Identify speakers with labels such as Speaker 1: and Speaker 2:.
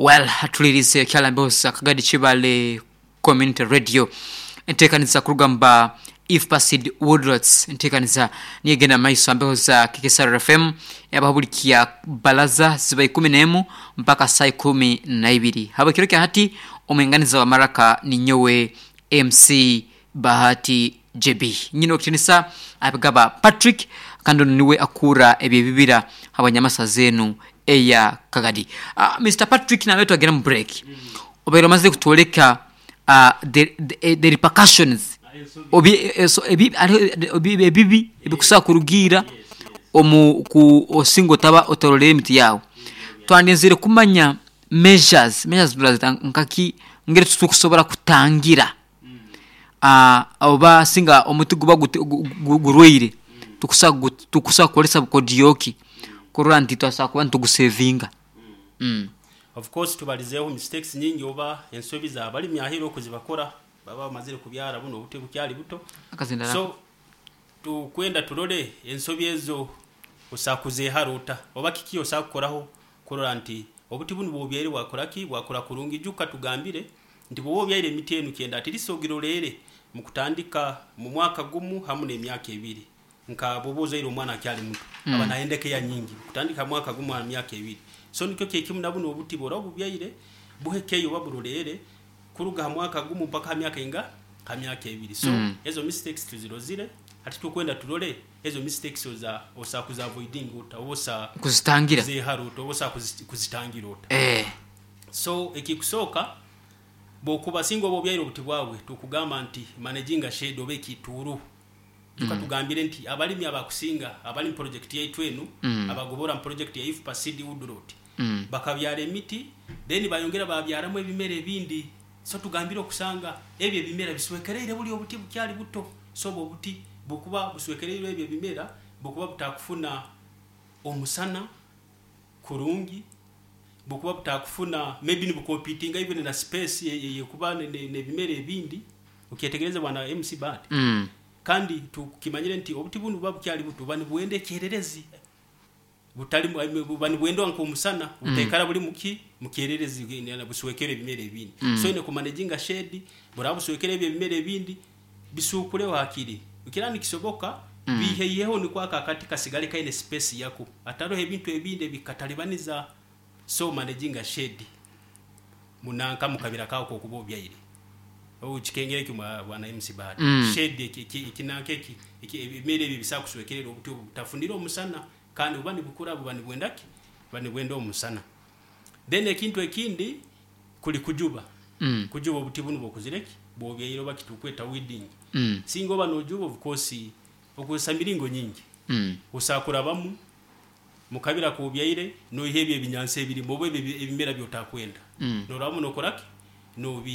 Speaker 1: Well atulirize Kyalambihos Kagadi Kibale Community Radio entekaniza kuruga mu ba Ifpacid Woodlots entekaniza niyo egenda mu maiso ambeho za KKSR FM ebaho buli kya balaza ziba ikumi nemu mpaka saa ikumi naibiri habwe kiro kya hati omwinganiza wa maraka ninyowe MC Bahati JB nyine okitinisa abigaba Patrick kandi onu niwe akuura ebyebibira habwa nyamasa zenu eya Kagadi. Mister Patrick nambere twagenda mu break obaire omazire kutwoleka the repercussions ebibi ebikusobora kurugiira omu ku osinga otaba otarolere emiti yaawe. Twandenzire kumanya measures, measures turazeta nkaki engeri tukusobora kutangira oba singa omuti guba gurwaire tukusobora kukozesa bukodyo ki kurora nti twasobora kuba nitugusevinga?
Speaker 2: Of course tubalizeeho mistakes nyingi oba ensobi z'abalimi aheeru oku zibakora baba bamazire kubyara bunu obuti bukyali buto. So tukwenda turole ensobi ezo osobola kuzeehara ota oba kiki osobola kukoraho kurora nti obuti bunu bw'obyaire bwakora ki? Bwakura kurungi. Ijuka tugambire nti bwoba obyaire emiti enu kyenda at least ogiroleere mu kutandika mu mwaka gumu hamu n'emyaka ebiri. Nka bwoba ozaire omwana akyali muto, aba nayenda keya nyingi kutandika ha mwaka gumu ha myaka ebiri. So nikyo kyekimu na bunu obuti bworaba obubyaire, buhe keya oba buroleere kuruga ha mwaka gumu mpaka ha myaka inga? Ha myaka ebiri. So ezo mistakes tuzirozire, hati tukwenda turole ezo mistakes oza osobola kuzi avoidinga ota oba osobola
Speaker 1: Kuzitangira.
Speaker 2: kuzehara ota oba osobola kuzitangira ota. So ekikusooka bwokuba singa oba obyaire obuti bwawe tukugamba nti managinga shade oba ekituuru. Ijuka tugambire nti abalimi abakusinga abali mu project yaitu enu abagobora mu project ya IFPA Seed Woodlot bakabyara emiti then bayongera babyaramu ebimera ebindi. So tugambire okusanga ebyo ebimera biswekereire buli obuti bukyali buto. So obwo obuti bukuba buswekereirwe ebyo ebimera bukuba butakufuna omusana kurungi, bukuba butakufuna maybe nibukompitinga even na space eyekuba nebimera ebindi. Okyetegereze bwana MC Bart. Kandi tukimanyire nti obuti bunu buba bukyali buto buba nibwenda ekyererezi butali buba nibwendwa nk'omusana butaikara buli muki mukyererezi buswekere ebimera ebindi. So oine kumanaginga shade buraba buswekere ebyo ebimera ebindi bisuukureho hakiri kiraba nikisoboka biiheiheho nikwo ako akati kasigale kaine space yako hataroho ebintu ebindi ebikatalibaniza. So managinga shade munanka mukabira kawe kokuba obyaire. Okikengera ekyo bwana MC Bahati. Shade ekinanka eki ebimera ebyo ebisobola kuswekerera obuti obwo butafunire omusana kandi buba nibukura buba nibwenda ki? Buba nibwenda omusana. Then ekintu ekindi kuli kujuba. Kujuba obuti bunu bwokuzire ki? Bwobyaire oba kitukweta weeding. Singa oba nojuba of course okozesa miringo nyingi. Osobola kurabamu Mu kabiri ak'obyaire, noiha ebyo ebinyansi ebirimu oba ebyo ebimera by'otakwenda. Norabamu nokora ki? Nobi.